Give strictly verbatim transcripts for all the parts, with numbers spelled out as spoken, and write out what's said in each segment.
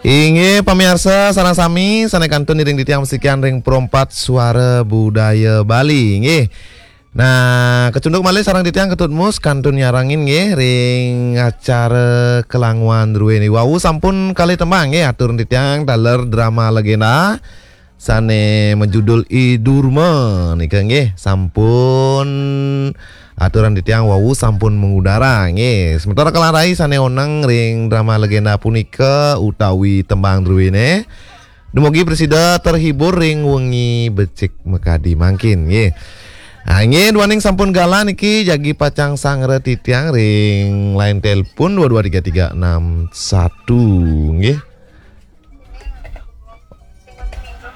Inggih pamiarsa sareng sami sané kantun iring titiang masikian ring Perempat Suara Budaya Bali. Inggih. Nah, kacunduk malih sareng titiang Ketut Mus kantun nyarengin nggih ring acara Kelanguan druéné. Wau sampun kalih tembang nggih aturang titiang taler drama legenda sané majudul I Durma nika nggih sampun aturang titiang wau sampun mangudara nggih. Sementara kalah rai sané oneng ring drama legenda punika utawi tembang druéné. Dumugi prasida terhibur ring wengi becik makadi mangkin nggih. Ah, nggih, duaning sampun galah niki jagi pacang sanggra titiang ring line telepon dua dua tiga tiga enam satu nggih.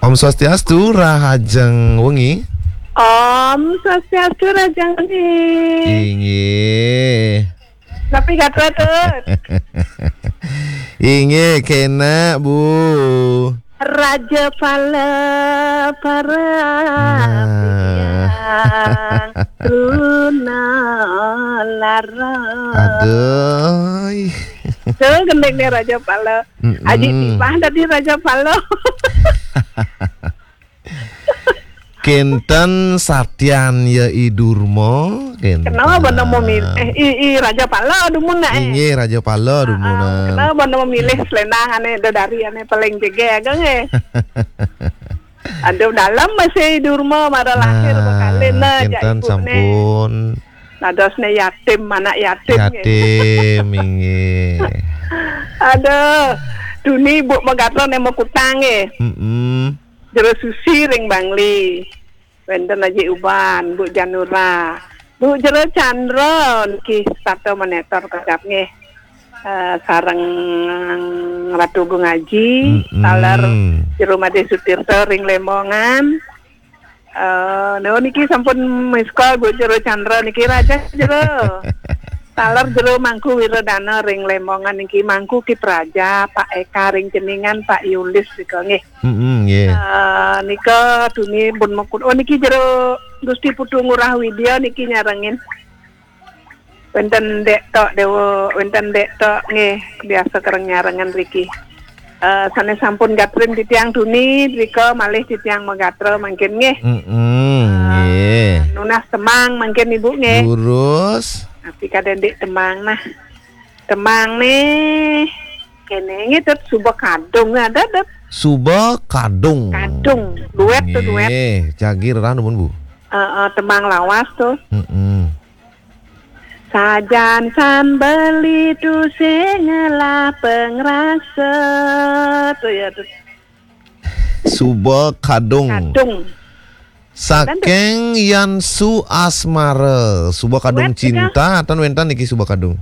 Om Swastiastu, rahajeng wengi. Om Swastiastu, rahajeng wengi. Inggih. Napi gatra, Tut? Inggih, kénak, Bu. Raja Pala para Nah. Truna Lara. Aduh. Tuh, gending nih Raja Pala. Mm-mm. Aji timpah tadi Raja Pala. Kénten Satyan ya I Durma, kénten. Kenapa bono memilih? Eh, i, i Raja Pala dumun nak, eh? Inggih, Raja Pala dumun. Ah, kenapa bono memilih selendang ané dedari ané paling jegé ageng, eh? Aduh, dalam masih I Durma mara lahir Nah, bekalin nah, jak kénten ibu sampun. Dadosné yatim, anak yatim, nggih. Yatim, inggih. Aduh, duni Bu Megatron yang mau kutang, nggih. Mm-mm. Jero Susi ring Bangli. Wénten Aji Uban, Bu Janura. Bu Jero Chandra niki setata monitor kagap nggih. Eh, sareng Ratu Gung Aji, Mm-mm. Taler Jero Madé Sutirta ring Lembongan. Eh, no niki sampun miss call Bu Jero Chandra niki Raja Jero. Taler Jero Mangku Wiradana ring Lembongan niki Mangku Ki Praja, Pak Eka ring Ceningan, Pak Yulis nika nggih. Mm-mm, nggih. Eh, nika duni pun mekun. Oh, niki Jero Gusti Putu Ngurah Widya niki nyarengin. Wénten Dék Tok Déwa, wénten Dék Tok nggih, biasa kereng nyarengan riki. Eh, sané sampun gatrin titiang duni, drika malih titiang magatra mangkin nggih. Mm-mm, nggih. Nunas temang mangkin Ibu nggih. Durus. Tapi kadén dik temang nah. Temang nih. Kéné nggih Tut, Suba Kadung ada Tut. Suba Kadung. Kadung, duet tuh, duet. Nggih, jagi rerah numun, Bu. Eh, eh, temang lawas tuh. Mm-mm. Sajan san beli tu sing ngelah pengrasa. Tuh ya tuh. Suba Kadung. Kadung. Saking Yan Su Asmara, Suba Kadung Wet, Cinta, atan wénten niki Suba Kadung.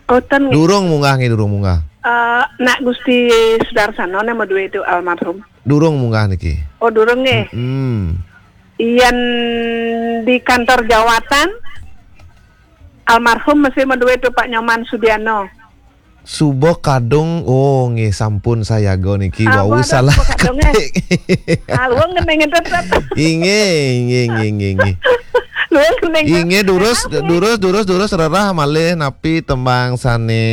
Oh, ten nggih. Durung munggah nggih, durung munggah. Eh, Nak Gusti Sudarsana né madué itu almarhum. Durung munggah niki. Oh, durung nggih. Mm-mm. Yen di kantor jawatan, almarhum masih madué itu Pak Nyoman Sudiano. Suba Kadung, oh nggih sampun sayaga niki. Ah, wau waduh, salah Suba Kadung, eh. Ketik. Ah, luwung ngening tetep. Inggih, inggih, inggih, inggih, inggih. Luwung ngening. Inggih durus, durus, durus, durus rerah malih napi tembang sané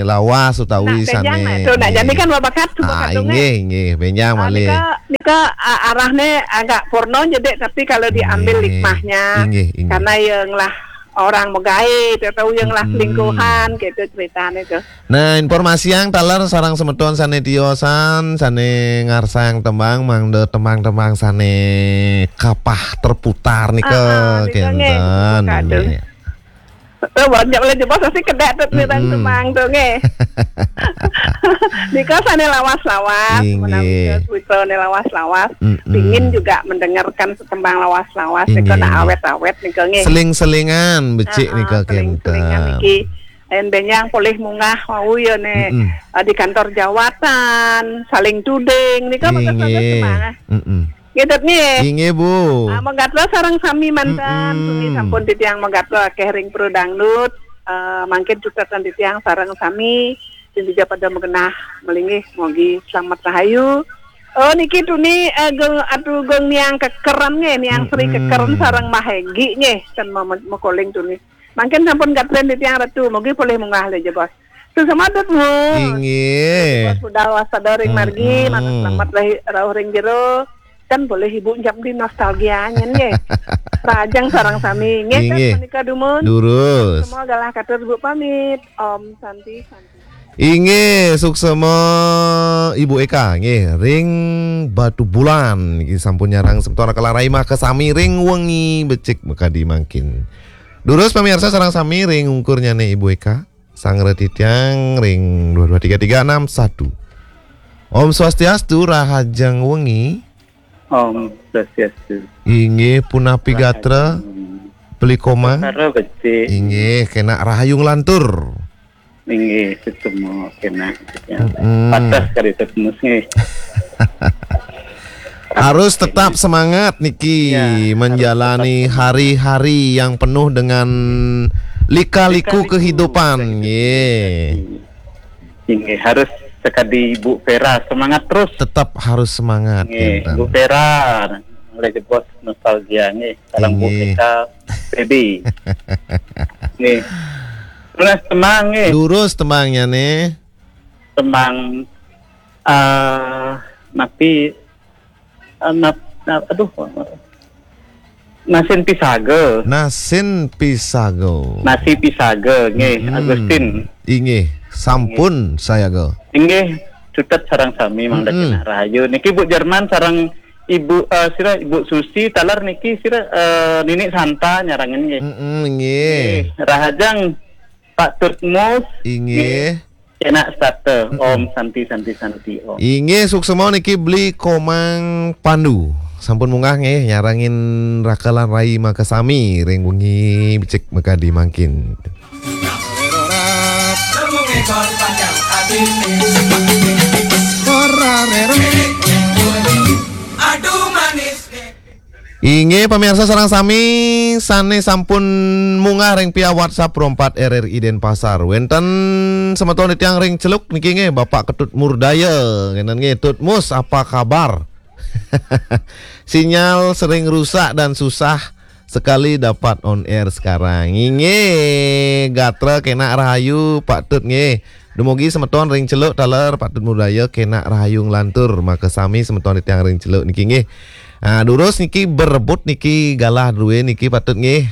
lawas utawi Nak benjang, sané. Nak, tuh, nak, nggih. Jani kan babakat Suba Ah, Kadung, eh. Inggih, inggih, benjang Ah, malih. Nika, nika, ah, arahné agak purno jedek, tapi kalau diambil Inggih. Hikmahnya, inggih, inggih. Karena yang lah orang megaé, atau yang lah Mm-mm. Selingkuhan, gitu ceritanya tuh. Nah, informasiang taler sareng semeton sané tiosan, sané ngarsang tembang, mangda tembang-tembang sané kapah terputar nika, Ah, ah, nika nggih, kénten, Suba Kadung. Nggih. Eh, banyak oleh jebos pasti kedek tuh tentang Mm-mm. Temang tuh nggih. Nika sané lawas-lawas, Inggih. Menawi putrané lawas-lawas, Mm-mm. Pingin juga mendengarkan setembang lawas-lawas, nika Inggih, nak inggih. Awet-awet nika nggih. Seling-selingan becik Ah, ah, nika seling-selingan kénten. Niki. Yen benjang polih munggah wau ya né, Mm-mm. Eh, di kantor jawatan, saling tuding, nika bagus-bagus Inggih. Tembang, ah. Mm-mm. Nggih, Dut, nggih. Inggih, Bu. Ah, magatra sareng sami mantan. Mm-mm. Sami sampun titiang magatra akéh ring Pro Dangdut. Eh, mangkin cutetan titiang sareng sami sing dija pada magenah malinggih, mogi slamet rahayu. Oh, niki tuni, eh, geng, atu geng niang kekeren nggih, niang Sri Mm-mm. Kekeren sareng Mbah Henggi nggih, ten ma-, ma-, makoling tuni. Mangkin sampun gatren titiang Ratu, mogi polih munggah lé jebos. Suksma, Dut Mus. Inggih. Bos budal waspada ring margi, matur selamat rauh ring jero. Kan boleh Ibu nyambi nostalgia nyen nggih. Rahajeng sareng sami. Nggih, kan Inggih. Punika dumun. Durus. Semua galah katur Ibu pamit. Om Santi Santi. Inggih, suksma Ibu Eka nggih ring Batubulan niki sampun nyarengin semeton Raka Lan Rai makasami ring wengi becik makadi mangkin. Durus pamiarsa sareng sami ring ungkurnyane Ibu Eka. Sang Reti tiang ring dua dua tiga tiga enam satu. Om Swastiastu, rahajeng wengi. Om Swastiastu. Inggih, punapi gatra, Beli Komang. Gatra becik. Inggih, kenak rahayu nglantur. Inggih, suksma kenak. Mm-mm. Patah kali Dut Mus nggih. Harus tetap semangat niki, ya, menjalani hari-hari yang penuh dengan lika-liku kehidupan. Nggih. Inggih, harus sekadi Bu Vera, semangat terus. Tetap harus semangat, nggih, Bu Vera. Oleh jebos nostalgia nggih. Sareng Bu Eka, Baby. Nggih. Terus tembang nggih. Durus tembangnya nih. Tembang, eh, napi, eh, nap-, nap-, aduh, Nasin Pisaga. Nasin Pisaga. Nasi Pisaga nggih, Agustin. Inggih, sampun sayaga. Inggih, cutet sareng sami mangda kenak rahayu. Niki Bu Jerman sareng Ibu, eh, sira Ibu Susi, taler niki sira, eh, Nini Santa nyarengin nggih. Mm-mm, inggih. Nggih, rahajeng Pak Dut Mus. Inggih. Kenak setata. Om Santi, Santi, Santi, Om. Inggih, suksma niki Beli Komang Pandu. Sampun munggah nggih nyarengin Raka Lan Rai makasami ring wengi becik makadi mangkin. Inggih, pamiarsa sareng sami sane sampun munggah ring via WhatsApp Pro empat R R I Denpasar. Wenten semeton titiang ring Celuk niki nggih, Bapak Ketut Murdaya. Ngenten nggih, Tut Mus, apa kabar? Sinyal sering rusak dan susah sekali dapat on air sekarang. Inggih, gatra kenak rahayu, Pak Tut nggih. Dumugi semeton ring Celuk taler, Pak Tut Murdaya, kenak rahayu nglantur. Makasami semeton titiang ring Celuk niki nggih. Ah, durus niki berebut niki galah druene niki Patut nggih.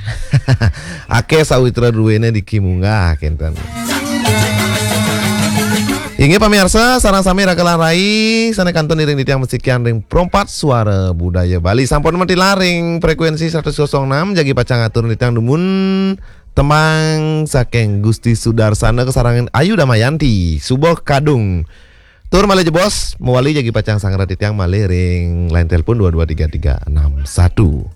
Akeh sawitra druene niki munggah kenten. Inggih pamiarsa, sareng sami Raka Lan Rai sane kantun iring titiang mesikian ring Pro empat Suara Budaya Bali. Sampun matilar ring frekuensi seratus kosong enam, jagi pacang atur titiang dumun tembang saking Gusti Sudarsana kasarengan Ayu Damayanti, Suba Kadung. Tur malih jebos, mawali jagi pacang sangra titiang malih ring line telepon dua dua tiga tiga enam satu.